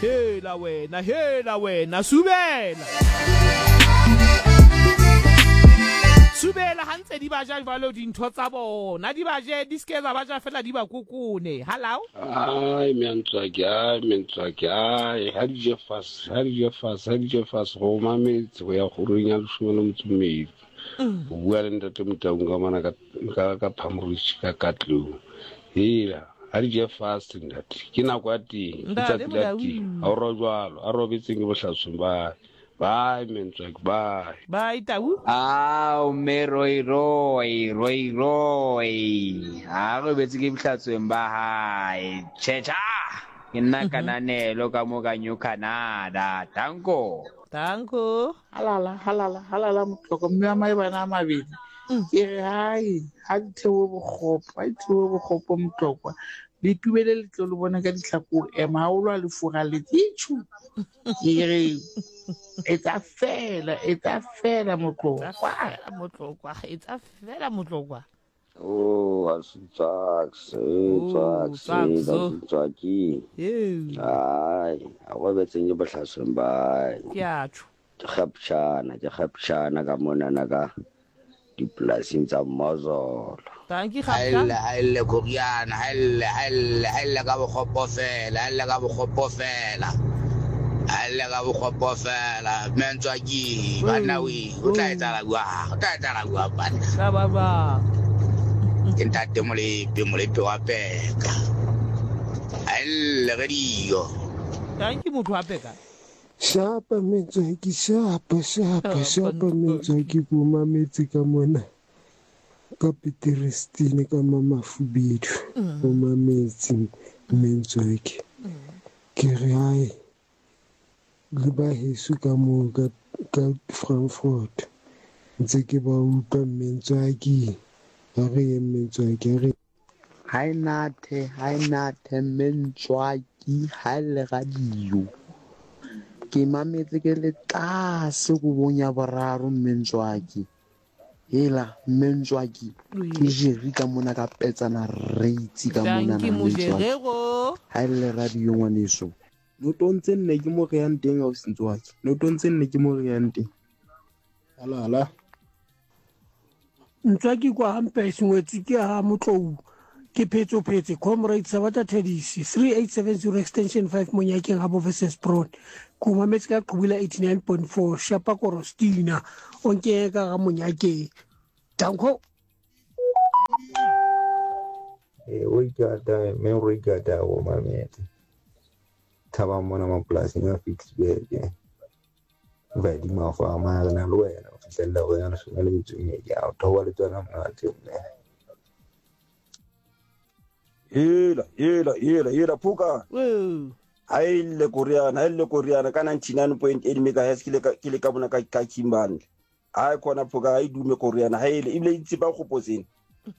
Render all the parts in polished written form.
Hela wena, hela wena, subela. Subela ha ntse di ba ja jwalo dintho tsa bona, di ba je, di se ke tsa ba ja fela di ba kokone. Halao? Ai mentswaki, ai mentswaki, ai ha di je fase, ha di je fase, ha di je fase go mametse go ya kgorong ya leshome le metso mmedi. O bua le ntate Motaung ka mona ka ka ka Phamorich ka Katlou. Hela, ha di je fast ntate. Ke nako ya teng, ke Ntate tsatsi la Motaung. teng. Ha o rojwalo, a robetseng ke bohlasweng bye. Bye mentswaki, bye. Bye Tau. Ao mme Roy Roy Roy Roy ha robetse ke bohlatsweng ba hae tjhetjha ke nna kananelo ka mo ka New Canada danko Danko. Halala, halala, halala motloko mme wa maebana a mabedi. Ke re hai, ha di theohe bokgopo, ha di theohe bokgopo motlokwa. Le tubele le tlo le bone ka ditlhako o ema ha o lwa le furaletse. Itjhu. Ke re etsa fela, etsa fela motlokwa. Fela motlokwa, etsa fela motlokwa. Oh, a se tswaks, eh, Oh, tswaks, eh, tswaks, ba oh. se tswaki. Eo. Ai, a robetseng ke bohlasweng ba. Ke a tjho. Ke kgaptjhana, ke kgaptjhana ka monana ka dipolasing tsa Mmozolo. Dankie Ha e Kgaptjha. lle, ha e lle Koriana, ha e lle, ha e lle, ha e lle ka bokgopo fela, ha e lle ka bokgopo fela. Ha e lle ka bokgopo fela. Mentswaki, banna we, o tla etsahala jwang? O tla etsahala jwang banna? Tla ba jwang? Ke ntate Molepe, Molepe wa Peka. Ha e lle radio. Dankie motho wa Peka. Shapa mentswaki, shapa, shapa, shapa mentswaki, ko mametse ka mona. Ka Peterestine ka Mamafubedu o mametse Mmentsweke. Ke re hae le ba heso ka moo ka ka Frankfurt ntse ke ba utlwa Mmentswaki. Ha re ye Mmentswaki ha re. Ha e nathe, ha e nathe Mmentswaki ha e le radio. Ke mametse ke le tlase kobong ya boraro Mmentswaki. Hela mme Ntswaki ke Jerry ka mona ka petsana reitsi ka mona Dankie na mme Ntswaki. Mojerero. Ha e le radio ngwaneso. Notong tse nne ke mo re yang teng ausi Ntswaki. Notong tse nne ke mo re yang teng. Halala. Ntswaki kwa hampe sengwetsi ke ha Motlou ke phetsophetse comrade Sabata Thedisi 3870 extension 5 Monyakeng ha bo versus Bron ke o mametse ka qhubula 89.4 shapa korostina o nke ka ga Monyakeng danko Ee, o ikata mme o ikata go mametse. Thabang mona mapolasing a Ficksburg. Vadima fa mara na le wena o fihlella go ya leshome le metso e mmedi a o theoha le tsona monate mme. Hela, hela, hela, hela, phuka. Woo. Ha e lle Koreana, ha e lle Koreana ka 99.8 megahertz ke le ka ke le ka bona ka ka Kimberley. Ha e khona phuka ha e dume Koreana, ha ele ebile e tsipa kgopotseng.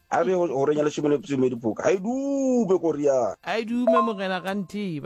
Ha re horeng ya leshome le metso e mmedi phuka, ha e dume Koreana. A e dume morena Rantiba.